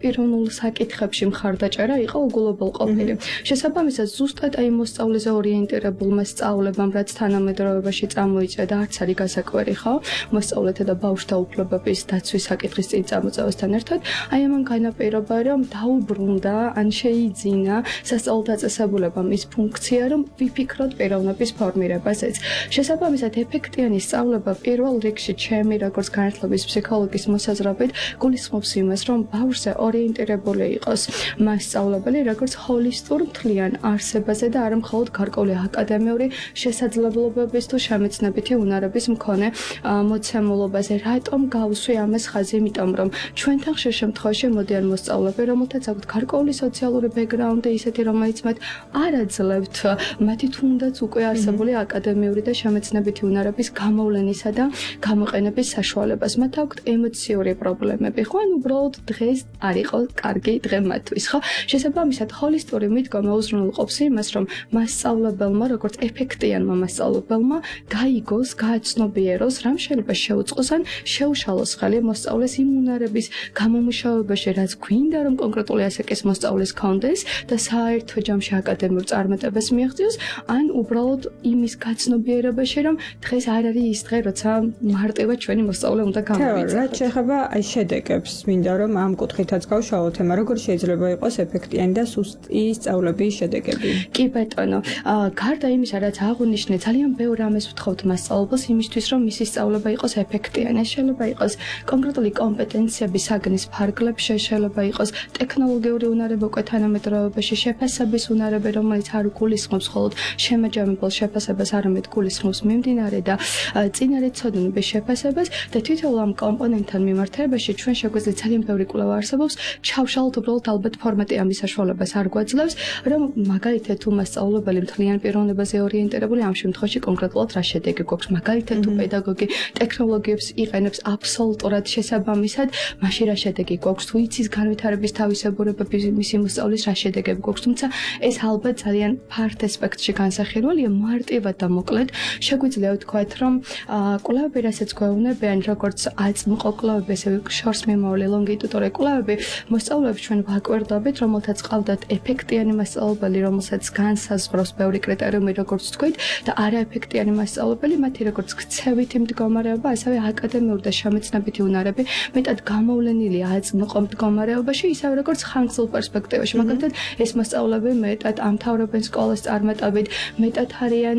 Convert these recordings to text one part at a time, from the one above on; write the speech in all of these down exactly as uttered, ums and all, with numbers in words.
პიროვნულ საკითხებში მხარდაჭერა იყო უგულობელყოფილი. შესაბამისად, ზუსტად აი მოსწავლეზე ორიენტირებულმა სწავლებამ, რაც თანამედროვეობაში წამოიწია და არც არის გასაკვირი, ხო? მოსწავლეთა და ბავშვთა უფლებების დაცვის საკითხის წინ წამოწევასთან ერთად, აი ამან განაპირობა, რომ დაუბრუნდა ან შეიძინა სასწავლო დაწესებულებამ ის ფუნქცია, რომ ვიფიქროთ პიროვნების ფორმირებაზეც. შესაბამისად, ეფექტიანი სწავლება პირველ რიგში ჩემი როგორც განათლების ფსიქოლოგის მოსაზრებით გულისხმობს იმას, რომ ბავშვზე ორიენტირებული იყოს მასწავლებელი როგორც ჰოლისტურ მთლიან არსებაზე და არა მხოლოდ გარკვეული აკადემიური შესაძლებლობების თუ შემეცნებითი უნარების მქონე მოცემულობაზე. რატომ გავუსვი ამას ხაზი? იმიტომ რომ ჩვენთან ხშირ შემთხვევაში მოდიან მოსწავლეები, რომელთაც აქვთ გარკვეული სოციალური ბექგრაუნდი, ისეთი, რომელიც მათ არ აძლევთ მათი თუნდაც უკვე არსებული აკადემიური და შემეცნებითი უნარების გამოვლენისა და გამოყენების საშუალებას. მათ აქვთ ემოციური პრობლემები, ხო? ან უბრალოდ დღეს არ იყო კარგი დღე მათთვის, ხო? შესაბამისად, ჰოლისტური მიდგომა უზრუნველყოფს იმას, რომ მასწავლებელმა, როგორც ეფექტიანმა მასწავლებელმა, გაიგოს, გააცნობიეროს, რამ შეიძლება შეუწყოს ან შეუშალოს ხელი მოსწავლეს იმ უნარების გამომუშავებაში, რაც გვინდა, რომ კონკრეტული ასაკის მოსწავლეს ქონდეს და საერთო ჯამში აკადემიურ წარმატებას მიაღწიოს, ან უბრალოდ იმის გაცნობიერებაში, რომ დღეს არ არის ის დღე, როცა მარტივად ჩვენი მოსწავლე უნდა გამოვიწყოთ. რაც შეეხება აი შედეგებს, მინდა რომ ამ კუთხითაც გავშალოთ თემა, როგორ შეიძლება იყოს ეფექტიანი და სუსტი სწავლების შედეგები. კი ბატონო, გარდა იმისა, რაც აღვნიშნე, ძალიან ბევრ რამეს ვთხოვთ მასწავლებელს იმისთვის, რომ მისი სწავლება იყოს ეფექტიანი. ეს შეიძლება იყოს კონკრეტული კომპეტენციების საგნის ფარგლებში, შეიძლება იყოს ტექნოლოგიური უნარები უკვე თანამედროვეობაში, შეფასების უნარები, რომელიც არ გულისხმობს მხოლოდ შემაჯამებელ შეფასებას, არამედ გულისხმობს მიმდინარე და წინარეცოდნების შეფასებას და თითოეულ ამ კომპონენტთან მიმართებაში ჩვენ შეგვიძლია ძალიან ბევრი კვლევა არსებობს, ჩავშალოთ უბრალოდ ალბათ ფორმატი ამის საშუალებას არ გვაძლევს, რომ მაგალითად თუ მასწავლებელი მთლიან პიროვნებაზე ორიენტირებული ამ შემთხვევაში კონკრეტულად რა შედეგი გვაქვს, მაგალითად თუ პედაგოგი ტექნოლოგიებს იყენებს აბსოლუტურად შესაბამისად, მაშინ რა შედეგი გვაქვს, თუ იცის განვითარების თავისებურებები მისი მოსწავლის რა შედეგები გვაქვს, თუმცა ეს ალბათ ძალიან ფართ ასპექტში განსახილველია, მარტივად და მოკლედ შეგვიძლია ვთქვათ, რომ კვლევები, რასაც გვეუბნებიან, როგორც აწმყო კვლევები, ასევე შორს მიმავალი ლონგიტუდური კვლევები, მოსწავლეებს ჩვენ ვაკვირდებით, რომელთაც ყავდათ ეფექტიანი მასწავლებელი, რომელსაც განსაზღვრავს ბევრი კრიტერიუმი, როგორც ვთქვით, და არაეფექტიანი მასწავლებელი, მათი როგორც ქცევითი მდგომარეობა, ასევე აკადემიური და შემეცნებითი უნარები მეტად გამოვლენილია აწმყო მდგომარეობაში, ისევე როგორც ხანგრძლივ პერსპექტივაში. მაგალითად, ეს მასწავლებლები მეტად ამთავრებენ სკოლას წარმატებით, მეტად არიან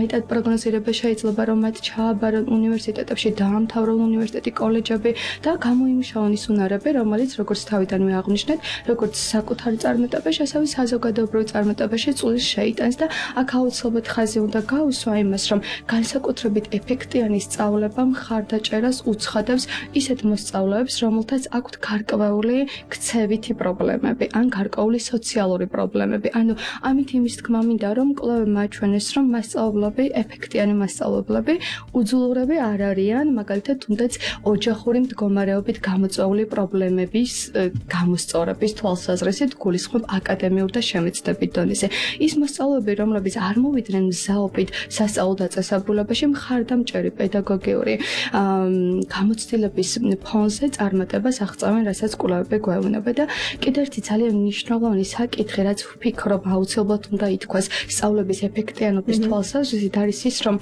მეტად პროგნოზირება შეიძლება, რომ მათ ჩააბარონ უნივერსიტეტებში, დაამთავრონ უნივერსიტეტი, კოლეჯები და გამოიმუშაონ ის უნარები, რომელიც როგორც თავიდანვე აღვნიშნეთ, როგორც საკუთარი წარმატებაში, ასევე საზოგადოებრივ წარმატებაში წვლილს შეიტანს და აქ აუცილებლად ხაზი უნდა გაუსვა იმას, რომ განსაკუთრებით ეფექტიანი სწავლება მხარდაჭერას უცხადებს ისეთ მოსწავლეებს, რომელთაც აქვთ გარკვეული ქცევითი პრობლემები ან გარკვეული სოციალური პრობლემები. ანუ ამით იმის თქმა მინდა, რომ კვლევებმა აჩვენეს, რომ მასწავლებლები, ეფექტიანი მასწავლებლები უძულურები არ არიან, მაგალითად, თუნდაც ოჯახური მდგომარეობით გამოწვეული პრობლემების გამოსწორების თვალსაზრისით გულისხმობ აკადემიურ და შემეცნებით დონეზე. ის მოსწავლეები, რომლებიც არ მოვიდნენ მზაობით სასწავლო დაწესებულებაში, მხარდამჭერი პედაგოგიური გამოცდილების ფონზე წარმატებას აღწევენ, რასაც კვლევები გვეუბნება და კიდევ ერთი ძალიან მნიშვნელოვანი საკითხი, რაც ვფიქრობ აუცილებლად უნდა ითქვას სწავლების ეფექტიანობის თვალსაზრისით, არის ის, რომ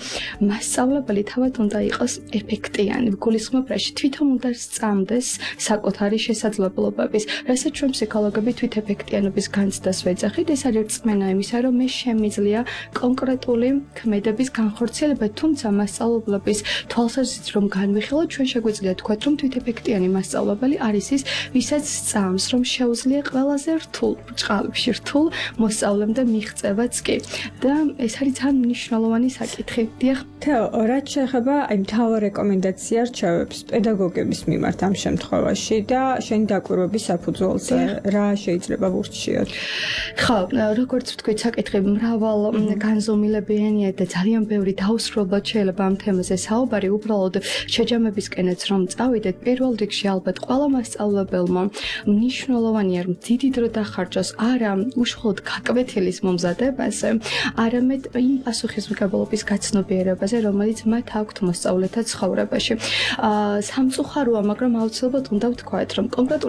მასწავლებელი თავად უნდა იყოს ეფექტიანი. გულისხმობ რაში თვითონ უნდა სწამდეს საკუთარი შესაძლებლობების, რასაც ჩვენ ფსიქოლოგები თვით ეფექტიანობის განცდას ვეძახით. ეს არის რწმენა იმისა, რომ მე შემიძლია კონკრეტული ქმედების განხორციელება, თუმცა მასწავლებლების თვალსაზრისით რომ განვიხილოთ, ჩვენ შეგვიძლია თქვათ, რომ თვით ეფექტიანი მასწავლებელი არის ის, ვისაც სწამს, რომ შეუძლია ყველაზე რთულ ბრჭყალებში რთულ მოსწავლემდე მიღწევაც კი. და ეს არის ძალიან მნიშვნელოვანი საკითხი. დიახ. თეო, რაც შეეხება აი მთავარ რეკომენდაცია რჩევებს პედაგოგების მიმართ ამ შემთხვევაში და შენი დაკვირვების საფუძველზე რა შეიძლება ვურჩიოთ? ხო, როგორც ვთქვით, საკითხი მრავალ განზომილებიანია და ძალიან ბევრი დაუსრულებლად შეიძლება ამ თემაზე საუბარი, უბრალოდ შეჯამებისკენაც რომ წავიდეთ, პირველ რიგში ალბათ ყველა მასწავლებელმა მნიშვნელოვანია, რომ დიდი დრო დახარჯოს არა უშუალოდ გაკვეთილის მომზადებაზე, არამედ იმ პასუხისმგებლობის გაცნობიერებაზე, რომელიც მათ აქვთ მოსწავლეთა ცხოვრებაში. სამწუხაროა, მაგრამ აუცილებლად უნდა ვთქვათ, რომ კონკრეტული